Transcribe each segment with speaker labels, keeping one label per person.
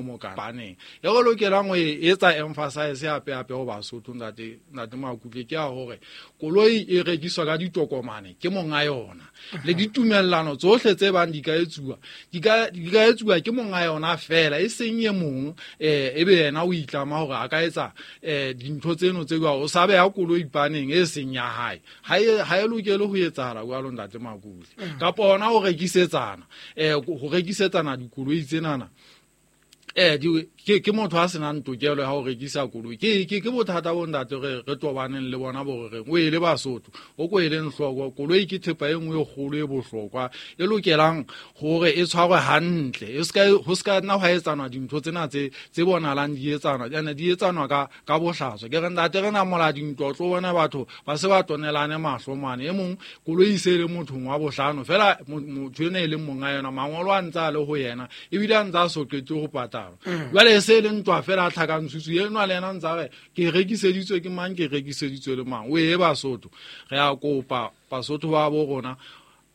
Speaker 1: Mokaneng e re lokelang ho e etsa emphasize hape hape ho Basotho, ntate Makutle, ke ya hore koloi e rekiswa ka ditokomane ke monga yona, le ditumellano tsohle tse bang di ka etsuwa, di ka etsuwa ke monga yona fela, e seng e mong ebe yena o itlama hore a ka etsa dintho tseno tse jwalo, o sa beha koloi paneng e seng ya hae. Ha e lokele ho etsahala jwalo, ntate Makutle. Kapa hona ho rekisetsana, ho rekisetsana dikoloi tsenana, ke motho a senang tokelo ya ho rekisa koloi. Ke bothata bo ntate re tobaneng le bona bo re reng o e le Basotho, o ko e leng hloko. Koloi ke thepa e nngwe e kgolo e bohlokwa e lokelang hore e tshwarwe hantle, e ska ho ska nna hwa etsanwa dintho tsena tse bonahalang di etsanwa, ene di etsanwa ka bohlaswa. Ke re ntate re namola dintwa, o tlo bona batho ba se ba tonelane mahlo mane, e mong koloi e se le mothong wa bohlano fela, motho ena e leng monga yona, mangolo a ntse a le ho yena, ebile a ntse a so qete ho patala. Jwale e se le ntwa fela a tlhakantshutsu enwa le yena ntse a re ke rekiseditswe ke mang, ke rekiseditswe le mang. O e Basotho, re a kopa Basotho ba bo rona,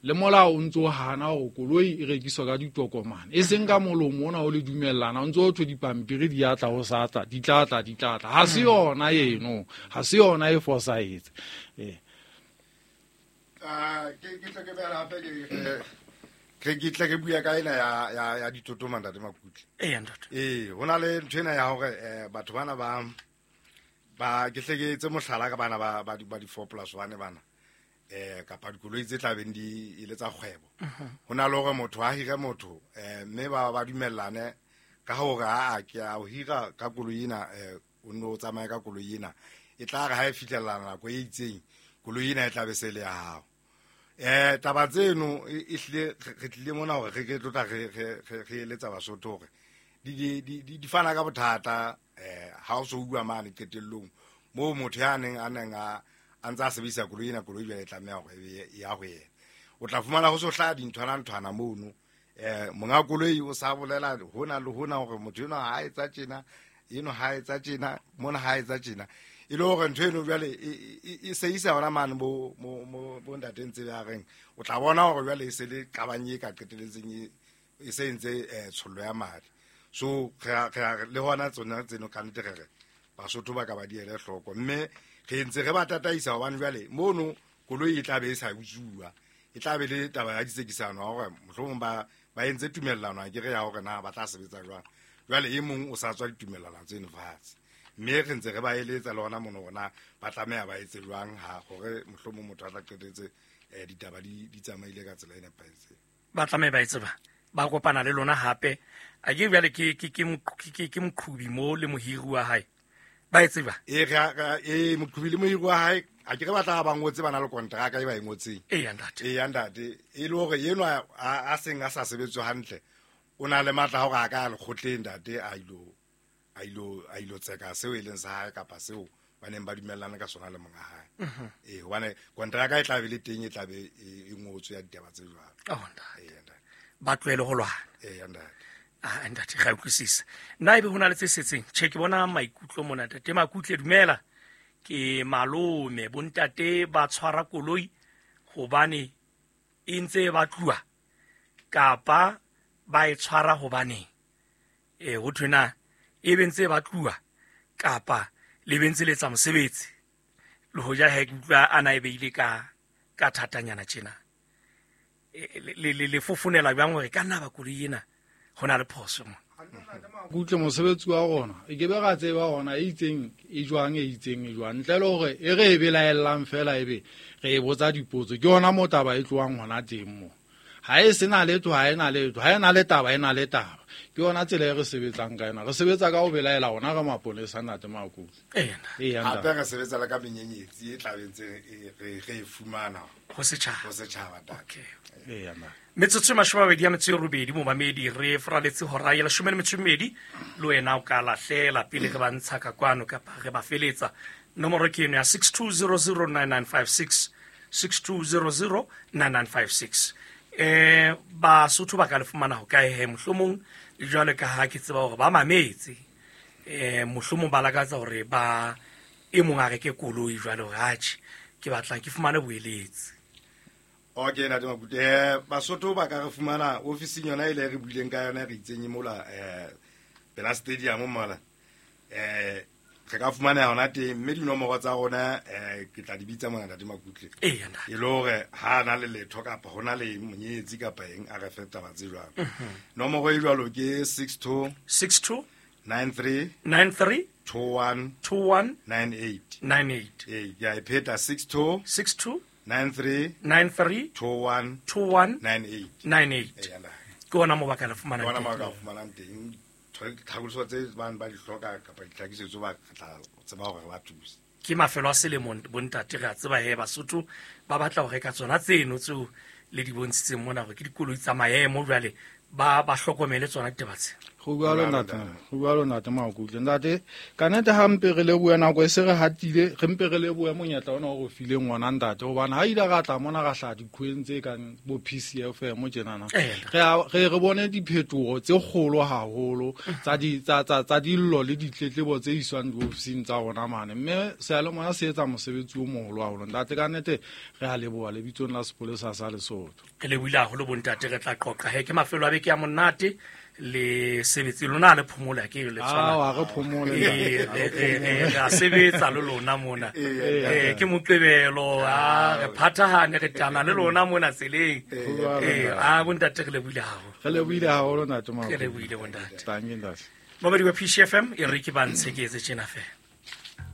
Speaker 1: le molao o ntse o hana hore koloi e rekiswa ka ditokomane, e seng ka molomo ona o le dumellana, o ntse o thwe dipampiri di a tla ho sa tla, di tla tla, di tla tla. Ha se yona eno, ha se yona e fosahetse.
Speaker 2: Ke tle ke beha hape ke tle ke bua ka ena ya ditotoma, ntate Makutle.
Speaker 3: Eya, ntate.
Speaker 2: Ho na le ntho ena ya hore batho bana ba ke hle ke etse mohlala ka bana ba di 4+1 bana, kapa dikoloi tse tla beng di e le tsa kgwebo. Ho na le hore motho a hire motho, mme ba dumellane ka hore a ke a o hira ka koloi ena, o nno o tsamaye ka koloi ena, e tla re ha e fihlella nako e itseng koloi ena e tla be se le ya hao. Taba tseno e hlile re tlile mona hore re ke tlotla re eletsa Basotho hore di fana ka bothata, ha o so bua mane qetellong moo motho ya neng a neng a ntse a sebedisa koloi ena, koloi jwale e tlameha hore e be ya ho yena. O tla fumana ho so hlaha dinthwana-nthwana mono, monga koloi o sa bolela hona le hona hore motho enwa ha etsa tjena, eno ha etsa tjena, mona ha etsa tjena, e le hore ntho eno jwale e se isa hona mane bo ntate ntse ba reng, o tla bona hore jwale e se le qabang e ka qeteletseng e se entse tshollo ya madi. So re le hona tsona tseno ka nnete re re Basotho ba ka ba di ele hloko, mme re ntse re ba tataisa hobane jwale mono koloi e tla be e sa utsuwa, e tla be le taba ya ditsekisano hore mohlomong ba entse tumellano a ke re ya hore na ba tla sebetsa jwang. Jwale e mong o sa tswa ditumellano tseno fatshe, mme re ntse re ba eletsa le hona mono hore na ba tlameha ba etse jwang ha hore mohlomong motho a tla qetetse ditaba di tsamaile ka tsela e nepahetseng.
Speaker 3: Ba tlameha ba etse ba kopana le lona hape. A ke jwale ke moqhubi mo le mohiri wa hae. Ba e tseba?
Speaker 2: Moqhubi le mohiri wa hae, a ke re ba tla ba ngotse ba na le kontraka e ba e ngotseng.
Speaker 3: Eya, ntate.
Speaker 2: Eya, ntate. E le hore enwa a seng a sa sebetswe hantle, o na le matla a hore a ka ya lekgotleng, ntate, a ilo tseka seo e leng sa hae kapa seo ba neng ba dumellane ka sona le monga hae. Hobane kontraka e tla be le teng, e tla be e ngotswe ya ditaba tse jwalo.
Speaker 3: Oh, ntate.
Speaker 2: Eya, ntate.
Speaker 3: Ba tlohele ho lwana.
Speaker 2: Eya, ntate.
Speaker 3: Ah, ntate, ga utlwisisa. Nna ebe ho na le tse setseng? Tjhe, ke bona maikutlo mona, ntate Makutle, dumela. Ke malome, bontate ba tshwara koloi hobane e ntse e batluwa kapa ba e tshwara hobaneng? Ho thwe na e be ntse e batluwa kapa le be ntse le etsa mosebetsi? Le hoja he ke utlwa a na e beile ka thatanyana tjena. Le fofonela jwang hore ka nna ba koloi ena ho na le phoso mo?
Speaker 1: Kutle mosebetsi wa rona e ke be ra tseba hona e itseng e jwang, e itseng e jwang, ntle le hore e re e belaellang fela ebe re e botsa dipotso. Ke hona mo taba e tlohang hona teng mo. Ha e sena letho, ha e na letho, ha e na le taba, e na le taba. Ke yona tsela e re sebetsang ka yona. Re sebetsa ka ho belaela rona re maponesa, ntate Makutle.
Speaker 3: Eya, ntate.
Speaker 1: Eya, ntate.
Speaker 2: Hape re sebetsa le ka menyenyetsi e tla be ntse re e fumana
Speaker 3: Ho setjhaba.
Speaker 2: Ho setjhaba, ntate.
Speaker 3: Okay.
Speaker 1: Eya, ntate.
Speaker 3: Metsotso e mashome a mabedi a metso e robedi, momamedi, re foraletse hora ya leshome le metso e mmedi. Le wena o ka lahlela pele re ba ntsha ka kwano kapa re ba feletsa. Nomoro ke eno ya 62009956, 62009956. Basotho ba ka le fumana ho kae he? Mohlomong jwale ka ha ke tseba hore ba mametse, mohlomong ba lakatsa hore ba e mong a reke koloi jwale hore atjhe, ke batla ke fumane boeletsi.
Speaker 2: Okay, ntate Makutle. Basotho ba ka re fumana ofising yona e le re buileng ka yona, re itseng e mola, Pela stadium mola. Re ka fumaneha hona teng, mme dinomoro tsa rona ke tla di bitsa mona Ntate Makutle.
Speaker 3: Eya, ntate.
Speaker 2: E le hore ha na le letho kapa hona le monyetsi kapa eng a re fe taba tse jwalo. Nomoro e jwalo ke 62
Speaker 3: 62
Speaker 2: 93
Speaker 3: 93
Speaker 2: 21
Speaker 3: 21
Speaker 2: 98.
Speaker 3: 98.
Speaker 2: Ee, ke a e pheta 62
Speaker 3: 62
Speaker 2: 93
Speaker 3: 93
Speaker 2: 21
Speaker 3: 21
Speaker 2: 98.
Speaker 3: 98.
Speaker 2: Eya, ntate.
Speaker 3: Ke ona mo ba ka le fumanang
Speaker 2: Ke ona mo
Speaker 3: teng.
Speaker 2: ba ka fumanang teng. Tlhakiso tse bang ba di hloka kapa ditlhakisetso ba tla tseba hore ba thuse.
Speaker 3: Ke mafelo a selemo bontate, re a tseba he Basotho ba batla ho reka tsona tseno tseo le di bontshitseng mona hore ke dikoloi tsa maemo, jwale ba hlokomele tsona ditaba tse.
Speaker 1: Go jwalo ntate, go jwalo ntate Makutle. Ntate, ka nnete ha mpe re lebohe nako e se re hatile, re mpe re lebohe monyetla ona o re fileng ona ntate, hobane ha ile ra tla mona ra hlaha diqhweng tse kang bo PCFM tjenana. Re re bone diphetoho tse kgolo haholo tsa di tsa tsa tsa dillo le ditletlebo tse iswang diofising tsa rona mane. Mme seyalemoya se etsa mosebetsi o moholo haholo. Ntate, ka nnete re a leboha lebitsong la sepolesa sa Lesotho.
Speaker 3: Re lebohile haholo bontate, re tla qoqa he ke mafelo a beke ya monate le sebetse lona le phomola ke le tshwana.
Speaker 1: Awa, re phomole.
Speaker 3: Re a sebetsa le lona mona. Ke Moqebelo, a re phathahane re tana le lona mona tseleng. A bontate re lebohile haholo.
Speaker 1: Re lebohile haholo ntate Makutle.
Speaker 3: Re lebohile bontate.
Speaker 1: Thank you, ntate.
Speaker 3: Momedi wa PCFM e re ke ba ntshe ke etse tjena fela.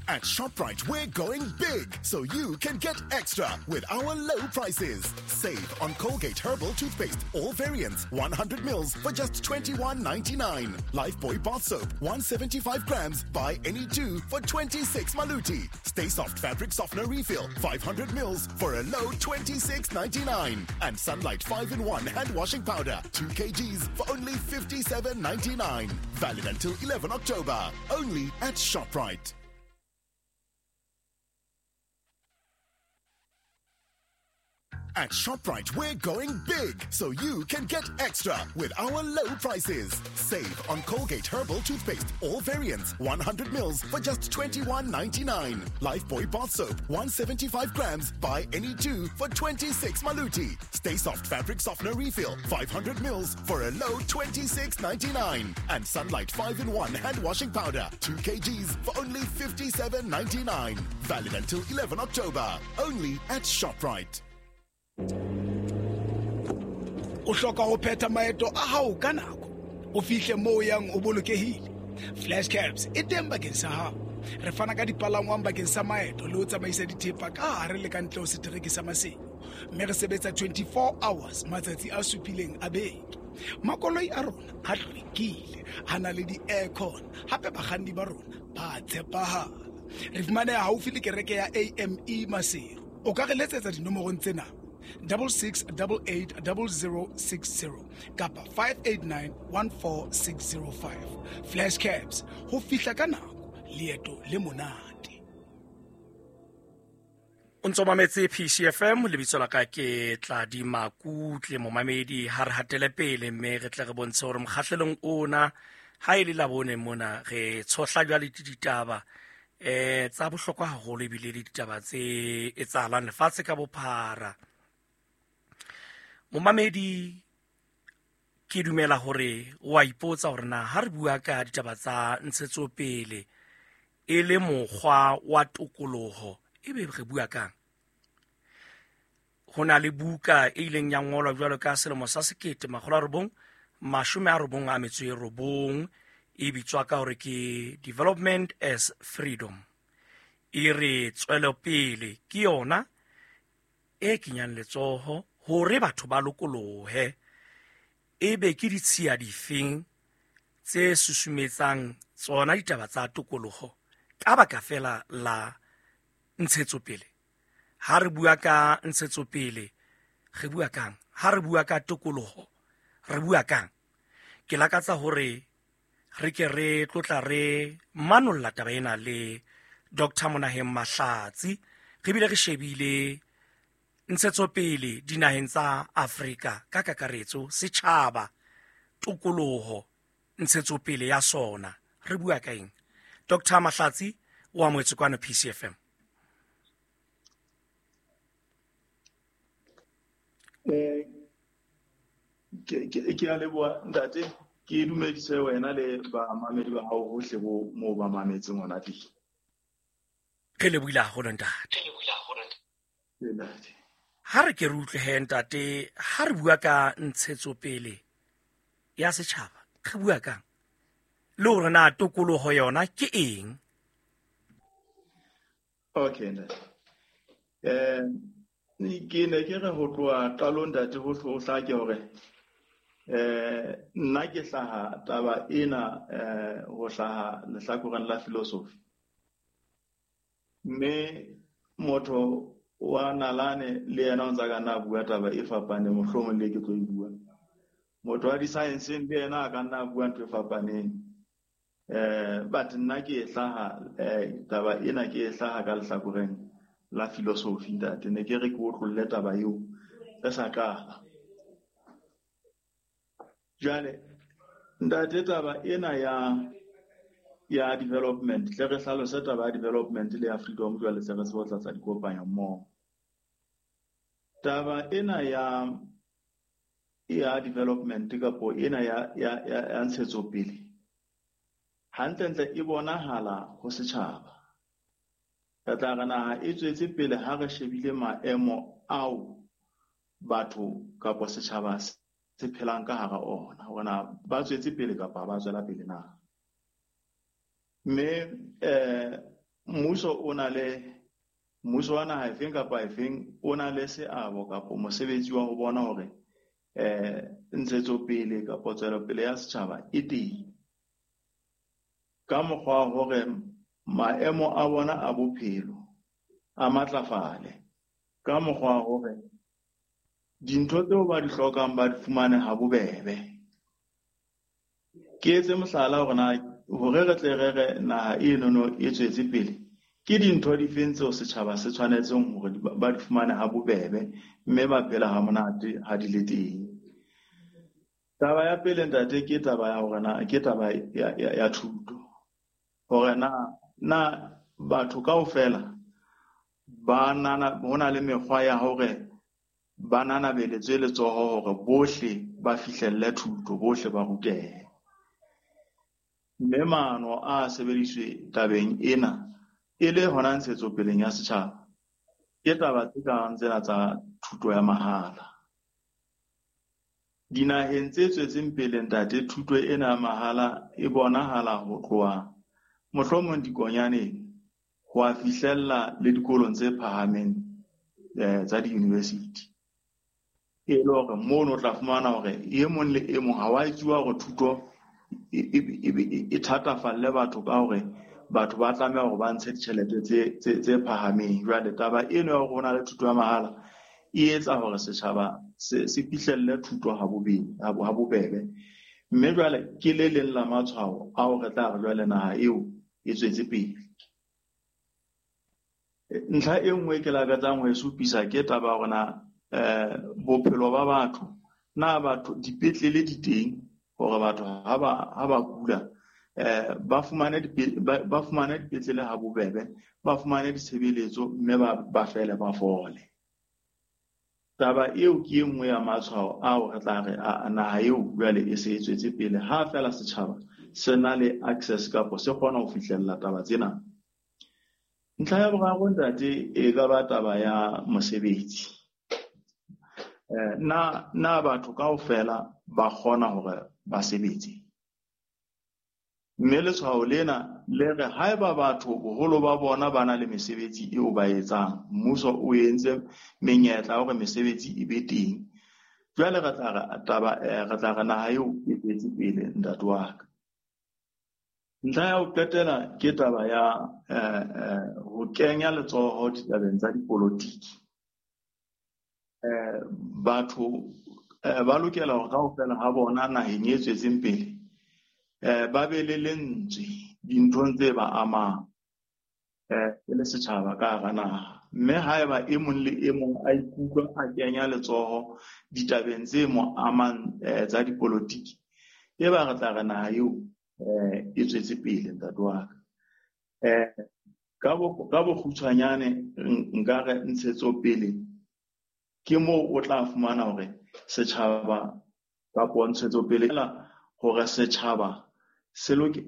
Speaker 4: At ShopRite, we're going big, so you can get extra with our low prices. Save on Colgate Herbal Toothpaste, all variants, 100 mils for just 21.99. Lifebuoy Bath Soap, 175 grams, buy any two for 26 maluti. Stay Soft Fabric Softener Refill, 500 mils for a low 26.99. And Sunlight 5-in-1 Hand Washing Powder, 2 kgs for only 57.99. Valid until 11 October, only at ShopRite. At ShopRite, we're going big, so you can get extra with our low prices. Save on Colgate Herbal Toothpaste, all variants, 100 mils for just 21.99. Lifebuoy Bath Soap, 175 grams, buy any two for 26 maluti. Stay Soft Fabric Softener Refill, 500 mils for a low 26.99. And Sunlight 5-in-1 Hand Washing Powder, 2 kgs for only 57.99. Valid until 11 October, only at ShopRite.
Speaker 5: O hloka ho phetha maeto a hao ka nako, o fihle moo o yang o bolokehile. Flash Cabs e teng bakeng sa hao. Re fana ka dipalangwang bakeng sa maeto le ho tsamaisa dithepa ka hare le ka ntle ho setereke sa Maseru, mme re sebetsa 24 hours matsatsi a supileng a beke. Makoloi a rona a hlwekile, a na le di-aircon, hape bakganni ba rona ba tshepahala. Re fumaneha haufi le kereke ya AME Maseru. O ka re letsetsa dinomorong tsena: 66880060 kapa 58914605. Flash Cabs, ho fihla ka nako, leeto le monate.
Speaker 3: O ntso mametse PCFM, lebitso la ka ke Tladi Makutle, momamedi ha re hatele pele mme re tle re bontshe hore mokgahlelong ona ha e le labone mona re tshohla jwale ditaba tsa bohlokwa haholo ebile le ditaba tse etsahalang lefatshe ka bophara. Momamedi, ke dumela hore o a ipotsa hore na ha re bua ka ditaba tsa ntshetsopele e le mokgwa wa tokoloho, ebe re bua kang? Ho na le buka e ileng ya ngolwa jwalo ka selemo sa 1999 e bitswa ka hore ke Development as Freedom. E re tswelopele ke yona e kenyang letsoho hore batho ba lokolohe. Ebe ke ditshiya difeng tse susumetsang tsona ditaba tsa tokoloho ka baka fela la ntshetsopele? Ha re bua ka ntshetsopele re bua kang? Ha re bua ka tokoloho re bua kang? Ke lakatsa hore re ke re tlotla re manolla taba ena le Dr. Monaheng Mahlatsi, re bile re shebile ntshetsopele dinaheng tsa Afrika ka kakaretso, setjhaba, tokoloho, ntshetsopele ya sona. Re bua ka eng? Dr. Mahlatsi o amohetswe kwano PCFM.
Speaker 6: Ke a leboha ntate. Ke dumedise wena le bamamedi ba hao hohle bo moo ba mametseng hona teng.
Speaker 3: Re lebohile haholo ntate.
Speaker 6: Ntate.
Speaker 3: Ha re ke re utlwe he ntate, ha re bua ka ntshetsopele ya setjhaba, re bua kang? Le hore na tokoloho yona ke eng?
Speaker 6: Okay, ntate. Ke ne ke re ho tloha qalong ntate ho hlake hore nna ke hlaha taba ena ho hlaha lehlakoreng la philosophy. Mme motho wa nalane le yena o ntsa ka nna bua taba e fapaneng, mohlomong le ke tlo e bua. Motho wa di-science le yena a ka nna bua ntho e fapaneng. But nna ke e hlaha taba ena ke e hlaha ka lehlakoreng la philosophy ntate. Ne ke re ke otlolle taba eo re sa qala. Jwale ntate, taba ena ya development, tle re hlalose taba ya development le ya freedom jwale se re se ho tlatsa dikopanya mmoho. Taba ena ya development kapo ena ya ntshetsopele hantlentle e bonahala ho setjhaba. Re tla re naha e tswetse pele ha re shebile maemo ao batho kapo setjhaba se phelang ka hara ona, hore na ba tswetse pele kapa ba tswela pele na. Mme mmuso o na le mmuso wa naha efeng kapa efeng o na le seabo kapo mosebetsi wa ho bona hore ntshetsopele kapo tswelopele ya setjhaba e teng ka mokgwa wa hore maemo a bona a bophelo a matlafale, ka mokgwa wa hore dintho tseo ba di hlokang ba di fumane ha bobebe. Ke etse mohlala hore na hore re tle re re naha enono e tswetse pele, ke dintho difeng tseo setjhaba se tshwanetseng hore ba di fumane ha bobebe mme ba phela ha monate ha di le teng. Taba ya pele ntate ke taba ya hore na ke taba ya thuto, hore na batho kaofela ba nana ho na le mekgwa ya hore ba nanabeletswe letsoho hore bohle ba fihlelle thuto, bohle ba rutehe. Mme maano a sebediswe tabeng ena e le hona ntshetsopeleng ya setjhaba ke taba tse kang tsena tsa thuto ya mahala. Dinaheng tse tswetseng pele ntate, thuto ena ya mahala e bonahala ho tloha mohlomong dikonyaneng ho a fihlella le dikolong tse phahameng tsa di-university. E le hore mono o tla fumana hore e mong le e mong ha wa etsuwa hore thuto e thatafalle batho ka hore batho ba tlameha hore ba ntshe ditjhelete tse phahameng. Jwale taba eno ya hore ho na le thuto ya mahala e etsa hore setjhaba se fihlelle thuto ha bobebe. Mme jwale ke le leng la matshwao ao re tla re jwale naha eo e tswetse pele. Ntlha e nngwe ke lakatsang ho e supisa ke taba ya hore na bophelo ba batho, na batho dipetlele di teng hore batho ha ba kula ba fumane dipetlele ha bobebe, ba fumane ditshebeletso mme ba fele ba fole. Taba eo ke e nngwe ya matshwao ao re tla re naha eo jwale e se e tswetse pele ha feela setjhaba se na le access kapo se kgona ho fihlella taba tsena. Ntlha ya boraro ntate e ka ba taba ya mosebetsi. Na batho kaofela ba kgona hore ba sebetse. Mme letshwao lena le re haeba batho boholo ba bona ba na le mesebetsi eo ba etsang, mmuso o entse menyetla hore mesebetsi e be teng. Jwale re tla re naha eo e tswetse pele ntate wa ka. Ntlha ya ho qetela ke taba ya ho kenya letsoho ditabeng tsa dipolotiki. Batho ba lokela hore kaofela ha bona naheng e tswetseng pele ba be le lentswe dinthong tse ba amang e le setjhaba ka hara naha. Mme haeba e mong le e mong a ikutlwa a kenya letsoho ditabeng tse mo amang tsa dipolotiki, e ba re tla re naha eo e tswetse pele ntate wa ka. Ka bokgutshwanyane nka re ntshetsopele ke moo o tla fumana hore setjhaba kapo ntshetsopele hore setjhaba se loke.